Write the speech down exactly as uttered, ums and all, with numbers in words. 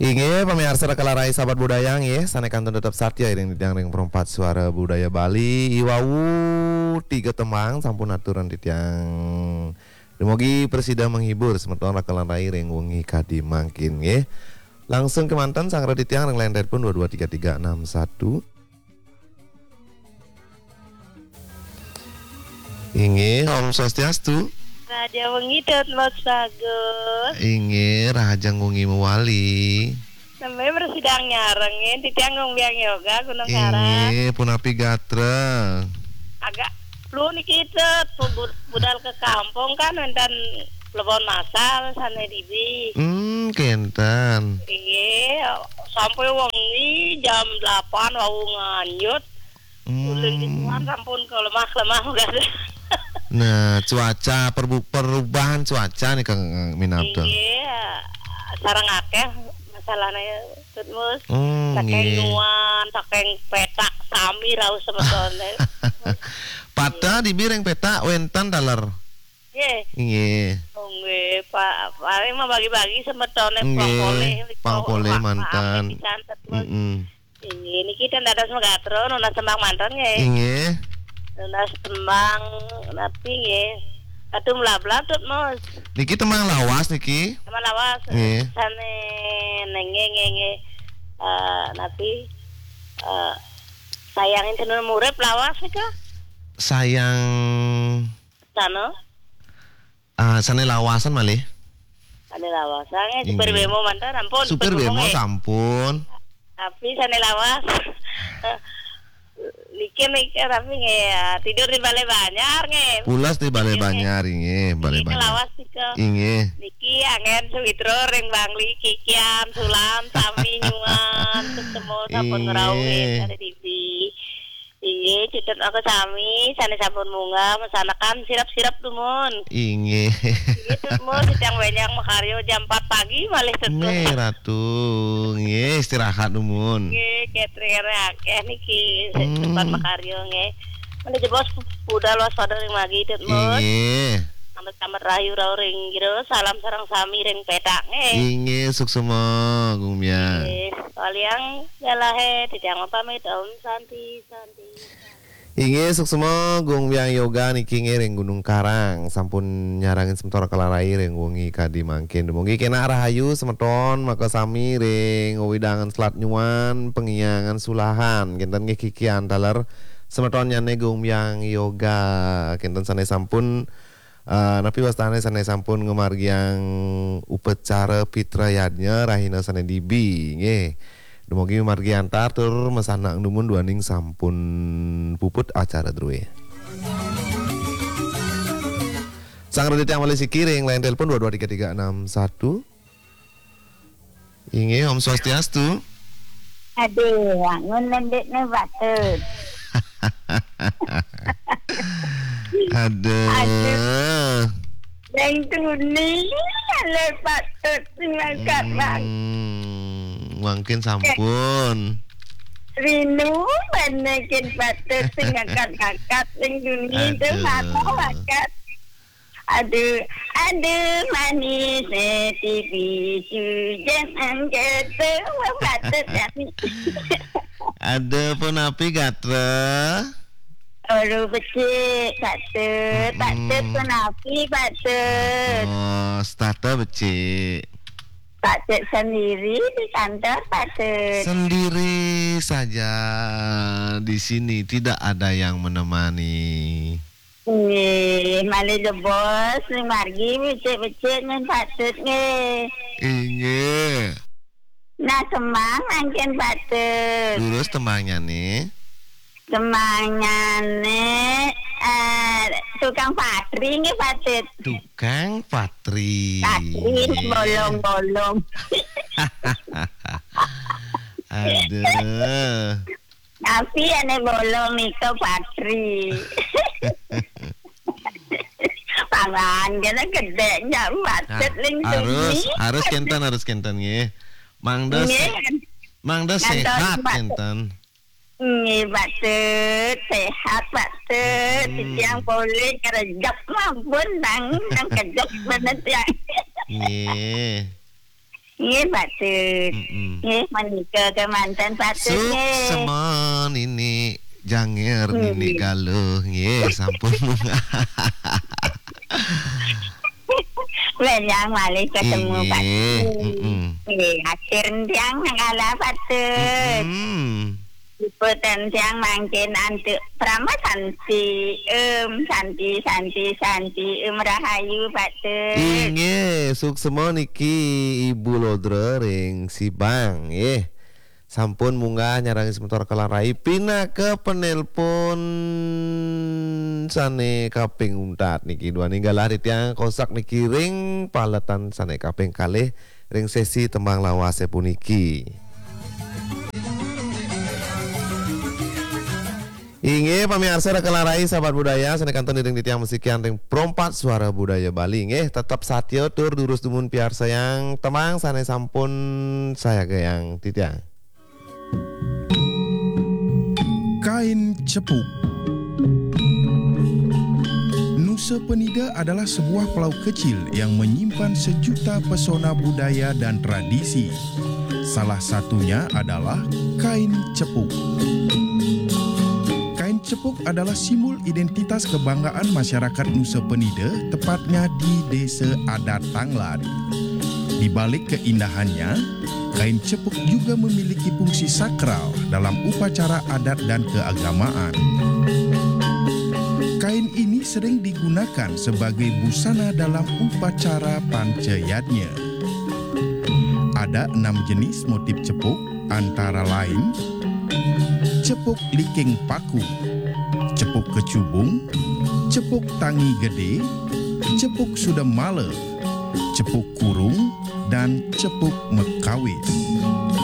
Inggih, pamiarsa Raka lan Rai sahabat budaya nggih, sané kantun tetep satya iring titiang ring Perempat Suara Budaya Bali. Iwau tiga tembang sampun aturan titiang. Dumugi prasida menghibur semeton Raka lan Rai ring wengi kadi mangkin nggih. Langsung kemanten sanggra titiang ring line telepon dua dua tiga tiga enam satu. Inggih, Om Swastiastu. Raja wengi, Tut Mus Bagus. Inggih, rahajeng wengi mawali. Nembé mresidang nyarengin, titiang Gung Biang Yoga, Gunung Karang. Inggih, punapi gatra? Agak flu niki, Tut. Bu-, budal ke kampung kan, wénten Plebon Masal sané dibi. Hmm, kénten. Inggih, sampai wengi jam delapan wau nganyut. Ulun di tuan sampun kelemah-kelemah, Gus. Nah, cuaca, perbu-, perubahan cuaca nih, Kang Minab, tuh. Inggih, sareng akéh masalahnya, Tut Mus. Hmm, saking nggih. Nuan, saking pétak, sami rauh semetoné. Pata dibi ring pétak wénten taler. Nggih. Nggih. Oh, nggih, Pak. Paling mah bagi-bagi semetoné. Nggih, pang polih, pang polih, Pak, manten. Pisan, Tut Mus. Mm-mm. Inggih, niki ten dados megatra, nunas tembang manten nggih. Inggih. Nunas tembang napi nggih? Aduh, mlablab, Tut Mus. Niki tembang lawas niki. Tembang lawas. Nggih. Sané nggih, nggih, nggih. Eh, napi? Eh, sayangin tenun murip lawas nika. Sayang. Sano? Ah, sané lawasan malih. Sané lawasan, eh, supir, inggih. Bemo manten, ampun, supir, supir bemo, bemo, eh. Sampun. Tapi sané lawas. Niki, niki, tapi nggih, ya, tidur di Balé Banjar, nggih. Pulas di Balé Banjar, inggih, Balé Banjar. Niki lawas nika. Inggih. Niki anggén sawitra ring Bangli, Kikian, Sulam, sami nyuan, ketemu sampun, inggih, ngrauhin, ada dibi. Inggih, Tut Mus, maka sami, sané sampun munggah, masanekan sirep-sirep dumun. Inggih. Inggih, Tut Mus, titiang bénjang makarya jam empat pagi malih, Tut Mus. Nggih, Ratu. Nggih, istirahat dumun. Nggih, catering akéh niki, hmm, sempat makarya nggih. Mula jebos budal waspada ring margi, Tut Mus. Inggih. Selamat, selamat rahayu rauh ring jero, salam sareng sami ring pétak nggih. Inggih, suksema, Gung Biang. Nggih, waliang galahé, titiang pamit, Om Santi, Santi. Inggih, suksema Gung Biang Yoga niki nggih ring Gunung Karang, sampun nyarengin semeton Raka lan Rai ring wengi kadi mangkin. Dumugi kénak rahayu semeton, maka sami ring wewidangan Selat Nyuan, Pengiangan, Sulahan. Kénten nggih Kikian taler semetonnyané Gung Biang Yoga. Kénten sané sampun Eh, napi wastané sané sampun ngamargiang upacara Pitra Yadnya rahina sané dibi, nggih. Dumugi mamargi antar tur masanang dumun duaning sampun puput acara drué. Sang Raditya malih siki ring line telepon dua dua tiga tiga enam satu. Inggih, Om Swastiastu. Aduh, wangun lembekne batur. Aduh. Aduh. Yang tuni, ale patut sing mangkat, Bang. Hmm, mangkin sampun. Rinu, bane kin patut sing ngangkat-ngangkat, sing tuni tu. Aduh. Mata bakat. Aduh, aduh, manis, eh, tipi, sujan, anggetu, wah, patut, ya. Aduh, punapi gatra? Aduh, becik, patut, patut, mm-mm. Punapi, patut. Oh, setata becik. Patut sendiri di kantor, patut. Sendiri saja di sini, tidak ada yang menemani. Nggih, malih jebos, ning margi becik-becik nyen patut nggih. Inggih. Nah, semang mangkin patut. Durus tembangnyané? Tembangnyané, eh, tukang patri nggih patut. Tukang patri. Patri, nggih. Bolong-bolong. Aduh. Tapi ane bolong nika patri. Pangan kena gedek nyak. Nah, macet ling harus, tuni. Harus kenten, harus kenten nggih. Mangda nggih, se-, mangda ngantos sehat, Pak. Kenten. Nggih, patut, sehat, patut. Hmm. Titiang boleh kerejep mampun nang, nang kejep bener ya. Nggih. Nggih, patut. Mm-mm. Nggih, menika kemanten patut, nggih. Suksma Nini Janger, Nini Galuh, nggih, sampun munggah. Benjang malih ketemu, Inggih, patut. Mm-mm. Nggih, akhir tiang nang kalah, patut. Mm-mm. Liputan tiang mangkin antuk Prama Santi, em, Santi, Santi, Santi, em, rahayu, patut. Inggih, suksma niki Ibu Lodra ring Sibang, nggih. Sampun munggah nyarengan semeton Kelarai pinaka penelpon sane kaping untat niki. Duaning galah titiang kosak niki ring paletan sane kaping kalih ring sesi tembang lawase puniki. Inggih, pamiarsa Kelarai sahabat budaya sane kantun iring titiang masikian ring Pro empat Suara Budaya Bali. Nggih, tetep satia tur durus dumun piarsayang tembang sane sampun sayagayang titiang. Kain Cepuk. Nusa Penida adalah sebuah pulau kecil yang menyimpan sejuta pesona budaya dan tradisi. Salah satunya adalah kain cepuk. Kain cepuk adalah simbol identitas kebanggaan masyarakat Nusa Penida, tepatnya di Desa Adat Tanglad. Di balik keindahannya, kain cepuk juga memiliki fungsi sakral dalam upacara adat dan keagamaan. Kain ini sering digunakan sebagai busana dalam upacara pancayadnya. Ada enam jenis motif cepuk, antara lain cepuk liking paku, cepuk kecubung, cepuk tangi gede, cepuk sudemala, cepuk kurung, dan cepuk mekawis.